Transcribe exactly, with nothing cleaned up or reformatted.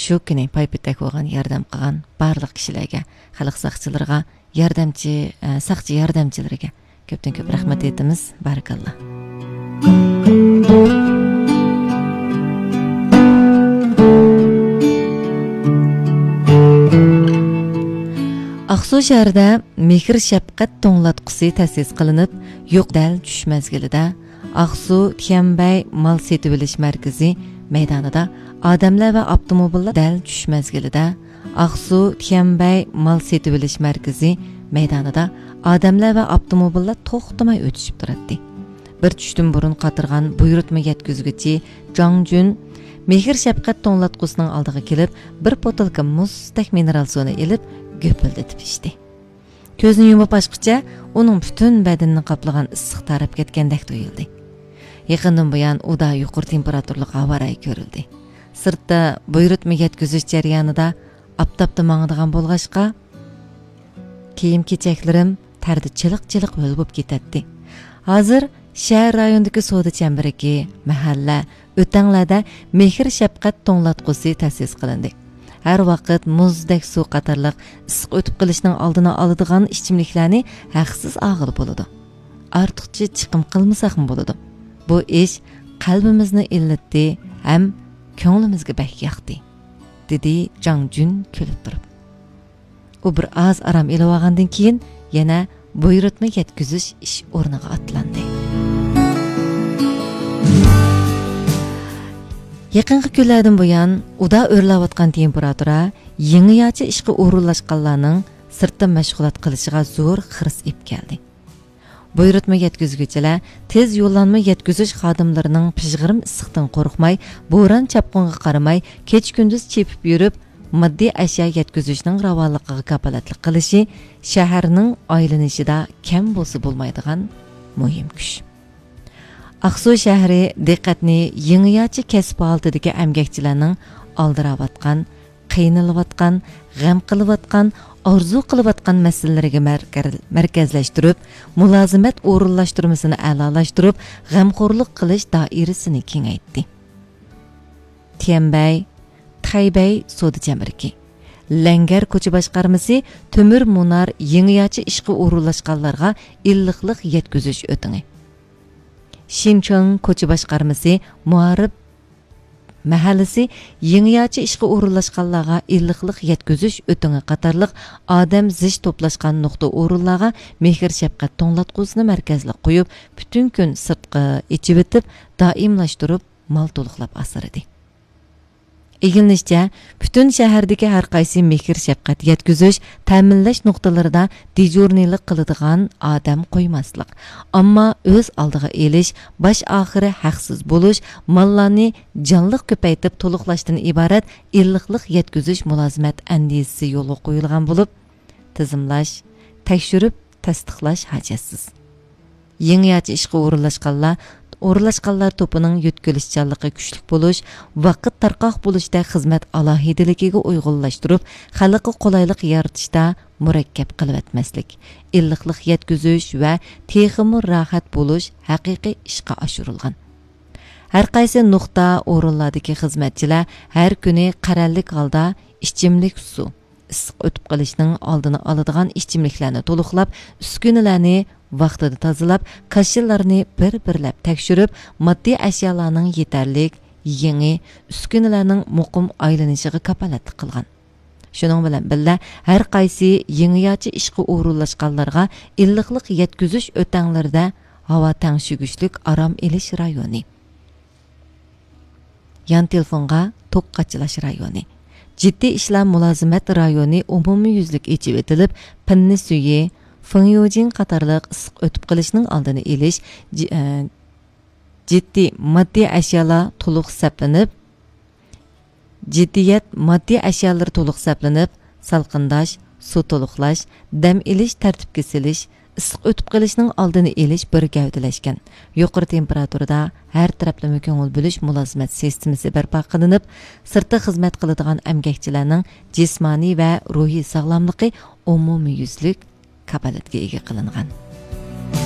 شۇ كۈنى پايپېتەك بولغان ياردەم قىلغان بارلىق كىشىلەرگە، خەلق ساقچىلىرىغا، ياردەمچى، ئە، ساقچى ياردەمچىلىرىگە كۆپتىن كۆپ رەھمەت ئېيتىمىز. بارىكاللا. ئاقسۇ شەھىرىدە مېھىر شەپقەت توڭلاتقۇسى تەسىس قىلىنىپ، يۇق دەل چۈش مەزگىلىدە ئاقسۇ تيەنبەي مال سېتىۋېلىش مەركىزى مەيدانىدا ئادەملەر ۋە ئاپتوموبىللار دەل چۈش مەزگىلىدە ئاقسۇ تيەنبەي مال سېتىۋېلىش مەركىزى مەيدانىدا ئادەملەر ۋە ئاپتوموبىللار توختىماي ئۆتۈشۈپ تۇراتتى. بىر چۈشتىن بۇرۇن قاترىغان بۇيرۇتما يەتكۈزگۈچى جاڭ جۈن مېھىر شەپقەت توڭلاتقۇسىنىڭ ئالدىغا كېلىپ، بىر بوتۇلكا مۇزدەك مىنېرال سۇنى ئېلىپ، گۈپۈلدىتىپ ئىچتى. كۆزنى يۇمۇپ ئاچقۇچە ئۇنىڭ پۈتۈن بەدىنىنى قاپلىغان ئىسسىق تاراپ كەتكەندەك تۇيۇلدى. يېقىندىن بۇيان ئۇدا يۇقىرى تېمپېراتۇرىلىق ھاۋا رايى كۆرۈلدى. سىرتتا بۇيرۇتما يەتكۈزۈش جەريانىدا ئاپتاپتا ماڭىدىغان بولغاچقا، كىيىم-كېچەكلىرىم تەردە چىلىق-چىلىق ھۆل بولۇپ كېتەتتى. ھازىر شەھەر رايونىدىكى سودا چەمبىرىكى، مەھەللە، ئۆتەڭلەردە مېھىر-شەپقەت توڭلاتقۇسى تەسىس قىلىندى. ھەر ۋاقىت مۇزدەك سۇ قاتارلىق ئىسسىق ئۆتۈپ قېلىشنىڭ ئالدىنى ئالىدىغان ئىچىملىكلەرنى ھەقسىز ئالغىلى بولىدۇ. ئارتۇقچە چىقىم قىلمىساقمۇ بولىدۇ. بۇ ئىش قەلبىمىزنى ئىللىتتى ھەم كۆڭلىمىزگە بەك ياقتى، دېدى جاڭ جۈن كۈلۈپ تۇرۇپ. ئۇ بىر ئاز ئارام ئېلىۋالغاندىن كېيىن يەنە بۇيرۇتما يەتكۈزۈش ئىش ئورنىغا ئاتلاندى. يېقىنقى كۈنلەردىن بۇيان ئۇدا ئۆرلەۋاتقان تېمپېراتۇرا يېڭىچە ئىشقا ئورۇنلاشقانلارنىڭ سىرتتا مەشغۇلات قىلىشىغا زور خىرىس ئېلىپ كەلدى. بۇيرۇتما يەتكۈزگۈچىلەر تېز يوللانما يەتكۈزۈش خادىملىرىنىڭ پىژغىرىم ئىسسىقتىن قورقماي، بوران-چاپقۇنغا قارىماي، كېچە-كۈندۈز چېپىپ يۈرۈپ، ماددىي ئەشيا يەتكۈزۈشنىڭ راۋانلىقىغا كاپالەتلىك قىلىشى شەھەرنىڭ ئايلىنىشىدا كەم بولسا بولمايدىغان مۇھىم كۈچ. ئاقسۇ شەھىرى دىققەتنى يېڭىچە كەسىپ ھالىتىدىكى ئەمگەكچىلەرنىڭ ئالدىراۋاتقان، قىينىلىۋاتقان، غەم قىلىۋاتقان، ئارزۇ قىلىۋاتقان مەسىلىلىرىگە مەركە-، مەركەزلەشتۈرۈپ، مۇلازىمەت ئورۇنلاشتۇرمىسىنى ئەلالاشتۇرۇپ، غەمخورلۇق قىلىش دائىرىسىنى كېڭەيتتى. تيەنبەي، تەيبەي سودا چەمبىرىكى، لەڭگەر كوچا باشقارمىسى تۆمۈر مۇنار يېڭىچە ئىشقا ئورۇنلاشقانلارغا ئىللىقلىق يەتكۈزۈش ئۆتىڭى. شىنچېڭ كوچا باشقارمىسى مۇھارىپ مەھەللىسى يېڭىچە ئىشقا ئورۇنلاشقانلارغا ئىللىقلىق يەتكۈزۈش ئۆتىڭى قاتارلىق ئادەم زىچ توپلاشقان نۇقتا ئورۇنلارغا مېھىر-شەپقەت توڭلاتقۇسىنى مەركەزلىك قويۇپ، پۈتۈن كۈن سىرتقا ئېچىۋېتىپ، دائىملاشتۇرۇپ مال تولۇقلاپ ئاسرىدى. ئىگىلىنىشىچە، پۈتۈن شەھەردىكى ھەرقايسى مېھىر-شەپقەت يەتكۈزۈش، تەمىنلەش نۇقتىلىرىدا دېجۇرنىيلىق قىلىدىغان ئادەم قويماسلىق، ئامما ئۆز ئالدىغا ئېلىش، باش ئاخىرى ھەقسىز بولۇش، ماللارنى جانلىق كۆپەيتىپ تولۇقلاشتىن ئىبارەت ئىللىقلىق يەتكۈزۈش مۇلازىمەت ئەندىزىسى يولغا قويۇلغان بولۇپ، تىزىملاش، تەكشۈرۈپ تەستىقلاش ھاجەتسىز. يېڭىچە ئىشقا ئورۇنلاشقانلار، ئورۇنلاشقانلار توپىنىڭ يۆتكىلىشچانلىقى كۈچلۈك بولۇش، ۋاقىت تارقاق بولۇشتەك خىزمەت ئالاھىدىلىكىگە ئۇيغۇنلاشتۇرۇپ، خەلققە قولايلىق يارىتىشتا مۇرەككەپ قىلىۋەتمەسلىك، ئىللىقلىق يەتكۈزۈش ۋە تېخىمۇ راھەت بولۇش ھەقىقىي ئىشقا ئاشۇرۇلغان. ھەرقايسى نۇقتا ئورۇنلاردىكى خىزمەتچىلەر ھەر كۈنى قەرەللىك ھالدا ئىچىملىك سۇ، ئىسسىق ئۆتۈپ قېلىشنىڭ ئالدىنى ئالىدىغان ئىچىملىكلەرنى تولۇقلاپ، ئۈسكۈنىلەرنى ۋاقتىدا تازىلاپ، كاشىلارنى بىر-بىرلەپ تەكشۈرۈپ، ماددىي ئەشيالارنىڭ يېتەرلىك، يېڭى، ئۈسكۈنىلەرنىڭ مۇقىم ئايلىنىشىغا كاپالەتلىك قىلغان. شۇنىڭ بىلەن بىللە، ھەر قايسى يېڭىچە ئىشقا ئورۇنلاشقانلارغا ئىللىقلىق يەتكۈزۈش ئۆتەڭلىرىدە ھاۋا تەڭشىگۈچلۈك ئارام ئېلىش رايونى، يان تېلېفونغا توك قاچىلاش رايونى، جىددىي ئىشلار مۇلازىمەت رايونى ئومۇميۈزلۈك ئېچىۋېتىلىپ، پىننە سۈيى، فېڭيۇجىن قاتارلىق ئىسسىق ئۆتۈپ قېلىشنىڭ ئالدىنى ئېلىش، جى-، ئە، جىددىي ماددىي ئەشيالار تولۇق سەپلىنىپ، جىددىيەت ماددىي ئەشيالىرى تولۇق سەپلىنىپ، سالقىنداش، سۇ تولۇقلاش، دەم ئېلىش تەرتىپكە سېلىش، ئىسسىق ئۆتۈپ قېلىشنىڭ ئالدىنى ئېلىش بىر گەۋدىلەشكەن. يۇقىرى تېمپېراتۇرىدا ھەر تەرەپلىمە كۆڭۈل بۆلۈش مۇلازىمەت سىستېمىسى بەرپا قىلىنىپ، سىرتتا خىزمەت قىلىدىغان ئەمگەكچىلەرنىڭ جىسمانىي ۋە روھىي ساغلاملىقى ئومۇميۈزلۈك كاپالەتكە ئىگە قىلىنغان.